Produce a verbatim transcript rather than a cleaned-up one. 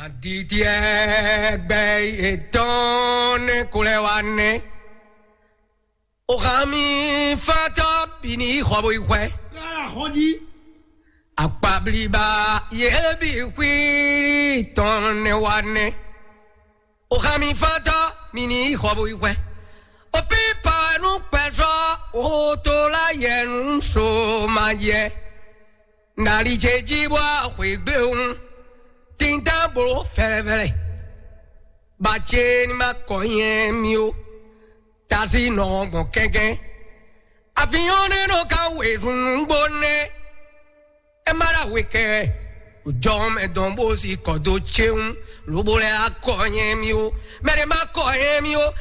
Aditya gbɛ yětɔn nɛ ko lɛ wá nɛ. O xa mi fátɔ bi ni xɔ bo yi xwɛ. Kára xɔ jí. Akpabliba yě bi xwí tɔn nɛ wá nɛ. O xa mi fátɔ mi ni xɔ bo yi xwɛ. O pi pa nu kpɛsɔ o to la yɛ nu so ma yɛ. Nali ce jí bɔ xwěgbéwún, tínta bló fɛ́lɛ́fɛ́lɛ́. Bacé ní ma kɔ nyɛ mì ó, tasí nɔ gbɔn kɛ́kɛ́. Àfihàn nínú ká wezun nǔgbó nɛ́. É má ɖo we kɛ, jɔ mɛ dɔn bó si kɔ dó céwún, lobo lɛ akɔ nyɛ mì ó. Mɛ ɖé má kɔ nyɛ mì ó.